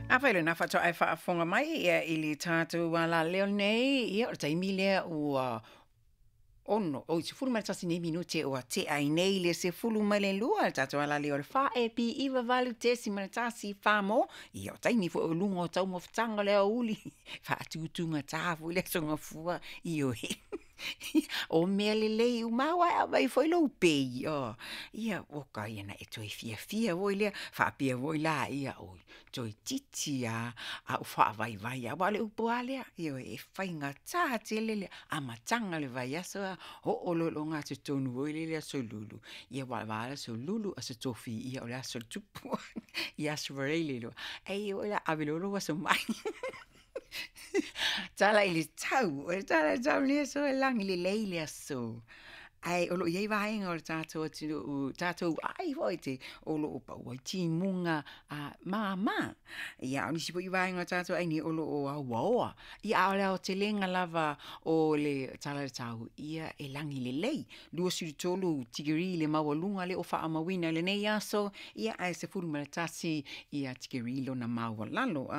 Afai lena faatoa e faafofoga mai ia i le tatou alaleo nei, ia o le taimi lea ua 6, oi, 11 nei minute ua tea ai nei le 12 le tatou alaleo o le 4AP98.1 Samoa. Ia o taimi foi o luga o taumafataga o le aoauli, faatutugata foi le Aso Gafua, ioe. O mea lelei uma aua e aumai foi lou pay, ia oka ia na e toe fiafia foi lea faapea foi laia, oi toeitiiti lava a ou faavaivai lava. Aua o le upu lava lea, ioe, e faigata tele le amataga o le vaiaso ae oo loa i le ogatotonu foi lea i le Aso Lulu, ia aua o le va lava lea o Aso Lulu, Aso Tofi, ia o le Aso o le Tupu, ia Aso Faraile loa, ai o le a ave loa lou aso mai. Tala i le tau, o le tala i le tau i lenei aso, e lagi lelei le aso, ae o lo o i ai vaega o le tatou atunuu, tatou aai foi o lo o pau ai timuga mama. Ia a o nisi foi vaega o le tatou aai nei o lo o auaoa. Ia a o le aotelega lava o le tala o le tau, ia e lagi lelei, 23 tikeri le maualuga lea ua faamauina i lenei aso, ia ae 11 tikeri lona maualalo.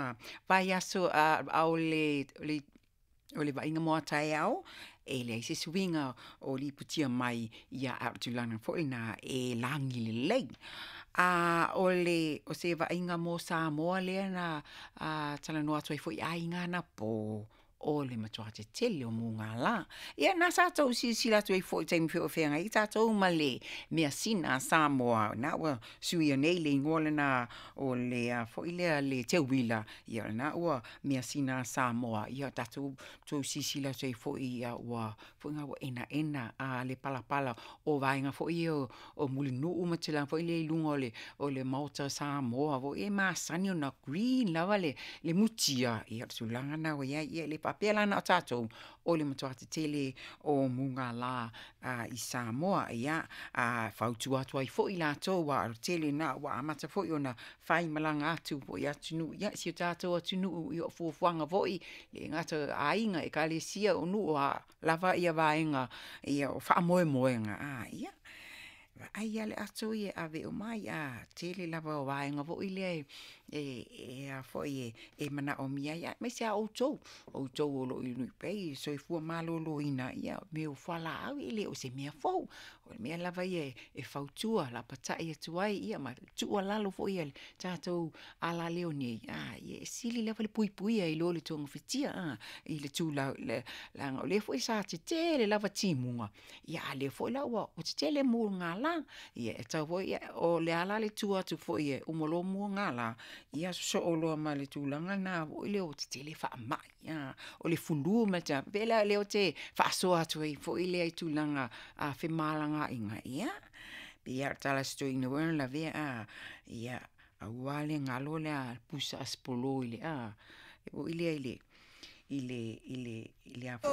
Vaiaso, a o le vaaiga mo a taeao, e leai se suiga o lipotia mai, ia a o le tulaga foi lena e lagi lelei. O se vaaiga mo Samoa lea na talanoa atu ai foi i aiga anapo, o le matua tetele o mugala. Ia na sa outou silasila atu ai foi i taimi foi o feagai ai tatou ma le measina a Samoa, na ua suia nei le igoa lena o le a foi lea le teuila, ia o lena ua measina a Samoa, ia tatou tou silasila atu ai foi ua foi ua enaena le palapala o vaega foi ia o Mulinuu ma tulaga foi lea i luga o le Maota o Samoa foi e masani ona green lava le mutia, ia o le tulaga lena ua i ai. Ia e le faapea la na o tatou, o le matua tetele o mugala i Samoa. Ia, fautua atu ai foi latou aua o le tele lena ua amata foi ona faimalaga atu foi i atunuu, ia si o tatou atunuu, ia o fuafuaga foi, e le gata o aiga, ekalesia, o nuu, o a lava vaega o faamoemoega, ia vaai lava le ato ia e ave uma ai, a tele lava o vaega foi lea e manaomia ai, aemaise lava outou, outou o lo o i le soifua maloloina, ia o mea o fualaau e le o se mea fou. O le mea lava ia e fautua lapatai atu ai, ia ma le tuualalo foi a le tatou alaleo nei, ia e sili lava le puipuia i lo le togafitia i le tulaga, leaga o lea foi sa tetele lava timuga, a o lea foi la ua tetele mugala. Ia e tatau foi, o le a la le tua atu foi e uma loa mugala, ia sosoo loa ma le tulaga lena foi lea ua tetele faamai. O le flu ma le tulaga, e pei la o lea ou te faasoa atu ai foi lea i tulaga femalagaaiga, ia, pei lava o le tala a si toeaina foi lea na lavea, ia aua le galo le pusa aspolo i le foi lea i le ato.